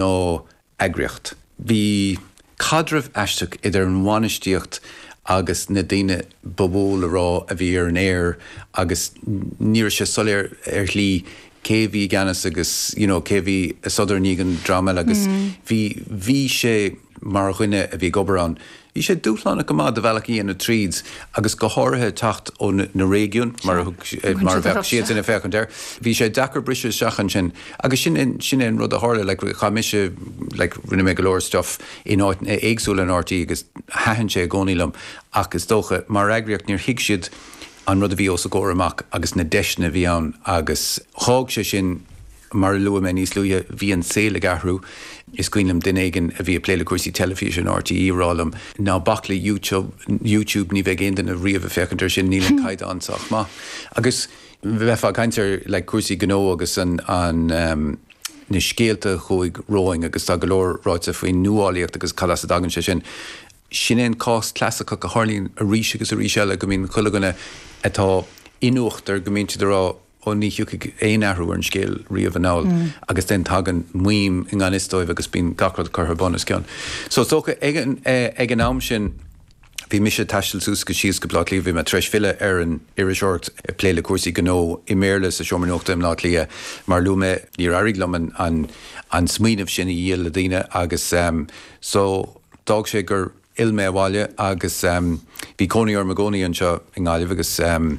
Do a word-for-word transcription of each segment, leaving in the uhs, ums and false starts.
Gnáth-eagraíocht. Bhí caidreamh aisteach idir an bhainistíocht agus na daoine ba mhó le rá a bhí ar an aer agus ní raibh sé soiléir ar shlí cé bhí i gceannas agus you know, cé bhí ag sodar i ndiaidh an dream eile agus bhí bhí sé mar dhuine a bhí ag obair ann. Bhí sé dúshlánach go maith do bhealach a dhéanamh tríd agus go háirithe teacht ó na réigiúin mar mar a bheadh siad ag féachaint air. Bhí sé deacair briseadh isteach ansin agus sin sin an rud a tharla le chaith mise le rinne mé go leor stuff in áit éagsúla in R T É agus thaitin sé i gcónaí liom ach is dócha mar eagraíocht níor thuig siad an rud a bhí os a gcomhair amach agus na deiseanna a bhí ann agus thóg sé sin. Mar a luaigh mé níos luaithe, bhí an saol ag athrú. Is cuimhin liom duine éigin a bhí ag plé le cúrsaí teilifíse in R T É rá liom, "Ná bac le YouTube, YouTube ní bheidh aon duine riamh ag féachaint air sin, níl an caighdeán sách maith." Agus bheifeá ag caint ar le cúrsaí gnó agus an, an um, na scéalta chuaigh romhainn agus tá go leor ráite faoin nuálaíocht agus cad as a dtagann sé sin. Sin é an cás clasaiceach a tharlaíonn arís agus arís eile go mbíonn chuile dhuine atá in uachtar go mbíonn siad ag rá, "Ó, ní thiocfaidh aon athrú ar an scéal riamh anall," mm. agus den tagann maidhm i ngan fhios dóibh agus bíonn gach rud curtha bunoscionn. So dócha ag an, eh, ag an am sin bhí mise ag taisteal suas go síos go Baile Átha Cliath. Bhí mé tar éis filleadh ar an iriseoireacht, plé le cúrsaí gnó i mBéarla sa seomra nuachta i mBaile Átha Cliath. Mar luaigh mé, níor éirigh liom an, an, an smaoineamh sin a dhíol le daoine agus um, so d'fhág sé gur fhill mé abhaile agus um, bhí cónaí orm i gcónaí anseo i nGaillimh agus um,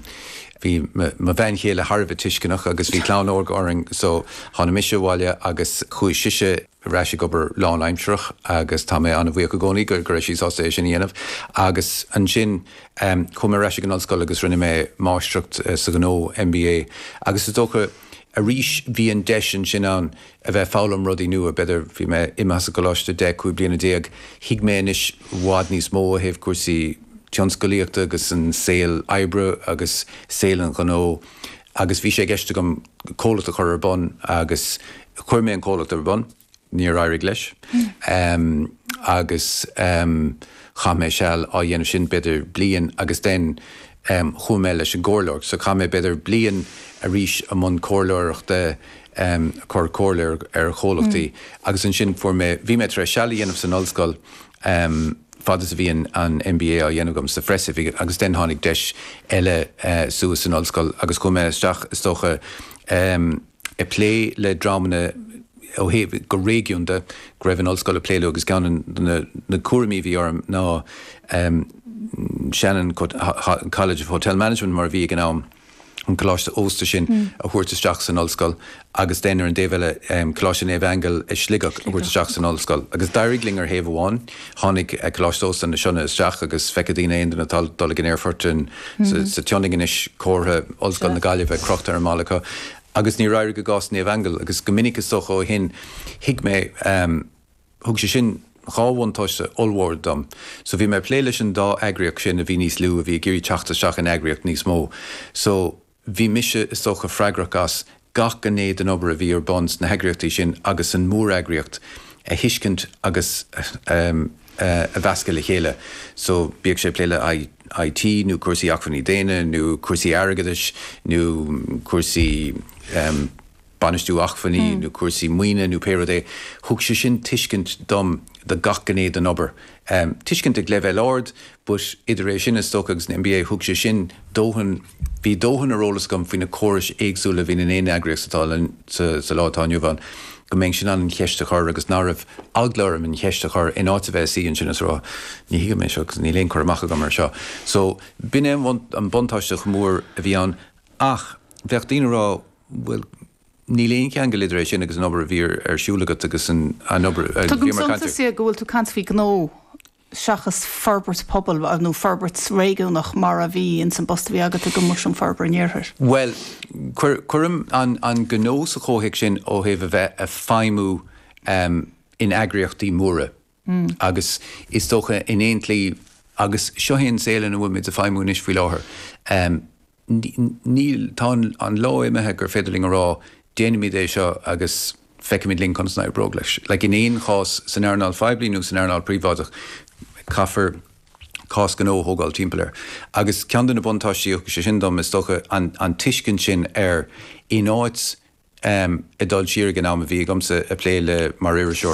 bhí mo bhean chéile thar a bheith tuisceanach agus bhí clann óg orainn, so tháinig mise abhaile agus chuaigh sise ar ais ag obair lánaimsearach agus tá mé an-bhuíoch i gcónaí go go raibh sí sásta é sin a dhéanamh. Agus ansin um, chuaigh mé ar ais ag an ollscoil agus rinne mé máistreacht uh, sa ghnó, M B A, agus is dócha arís bhí an deis ansin ann a bheith foghlaim rudaí nua. B'fhéidir bhí mé imithe as an gcoláiste deich cúig bliana déag, thuig mé anois i bhfad níos mó ó thaobh cúrsaí tionsclaíochta agus an saol oibre agus saol an ghnó agus bhí sé i gceist agam comhlacht a chur ar bun agus chuir mé an comhlacht ar bun, níor éirigh leis. Um, agus um, chaith mé seal á dhéanamh sin, b'fhéidir bliain, agus den um, chuaigh mé leis an gcomhairleoireacht, so chaith mé b'fhéidir bliain arís i mbun comhairleoireachta, um, cur comhairle ar chomhlachtaí mm. agus ansin fuair mé bhí mé tar éis seal a dhéanamh san ollscoil um, fad is a bhí an M B A á dhéanamh agam sa phreasoifig agus den tháinig deis eile uh, suas san ollscoil agus chuaigh mé isteach is dócha um, ag plé le dreamanna ó thaobh go réigiúnda go raibh an ollscoil ag plé leo agus ceann na, na cúraimí a bhí orm ná um, Shannon College of Hotel Management mar a bhí ag an am, an coláiste ósta sin mm. a thabhairt isteach san ollscoil agus den ar an dtaobh eile um, Coláiste Naomh Aingeal i Sligeach a thabhairt isteach san ollscoil. Agus d'éirigh linn ar thaobh amháin, tháinig uh, Coláiste Ósta na Sionna isteach agus feicfidh daoine aon duine atá dul ag an aerfort mm -hmm. sa tSionainn anois comhartha Ollscoil na Gaillimhe crochta ar an mballa acu. Agus níor éirigh i gcás Naomh Aingeal agus go minic is dócha ó shin thuig mé um, thug sé sin dhá bhuntáiste ollmhór dom. So bhí mé plé leis an dá eagraíocht sin a bhí níos lú a bhí ag iarraidh teacht isteach in eagraíocht níos mó. So bhí mise is dócha freagrach as gach gné den obair a bhí ar bun sna heagraíochtaí sin agus an móreagraíocht a thuiscint agus um, uh, a mheascadh le chéile. So bíodh sé plé le I T nó cúrsaí acmhainní daonna nó cúrsaí airgeadais nó cúrsaí um, bainistiú acmhainní mm. nó cúrsaí maoine nó pé rud é, thug sé sin tuiscint dom do gach gné den obair. Um, tuiscint ag leibhéal ard, but idir é sin is dócha agus an M B A thug sé sin dóthain, bhí dóthain ar eolas agam faoi na córais éagsúla bhí in aon eagraíocht atá sa, sa lá atá inniu ann, go mbeinn in ann an cheist a chur agus ná raibh eagla orm an cheist a chur in áit a bheith ansin is rá, "Ní thuigim é seo agus níl aon chur amach agam ar seo." So b'in é an buntáiste mór a bhí ann ach bheadh daoine ag rá, "Bhuel, níl aon cheangal idir é sin agus an obair a bhí ar siúl agat agus an obair." Tugaim suntas go bhfuil tú ag caint faoi gnó seachas forbairt pobail nó forbairt réigiúnach mar a bhí in san bpost a bhí agat i gCoimisiún Forbartha an Iarthair. Well, cuirim an, an gnó sa chomhthéacs sin ó thaobh a bheith ag feidhmiú um, in eagraíochtaí móra. Mm. Agus is dócha in aon tslí agus seo é an saol ina bhfuil muid ag feidhmiú anois faoi láthair. Um, níl tá an lá imithe gur féidir linn a rá, "Déanaimid é seo agus feicimid linn conas a oibreoidh leis." Like in aon chás san earnáil phoiblí nó san earnáil príobháideach caithfear cás gnó a thógáil timpeall air. Agus ceann de na buntáistí sé sin dom is dócha an, an tuiscint sin ar in áit um, ag dul siar ag an am a bhí agamsa ag plé le mar iriseoir.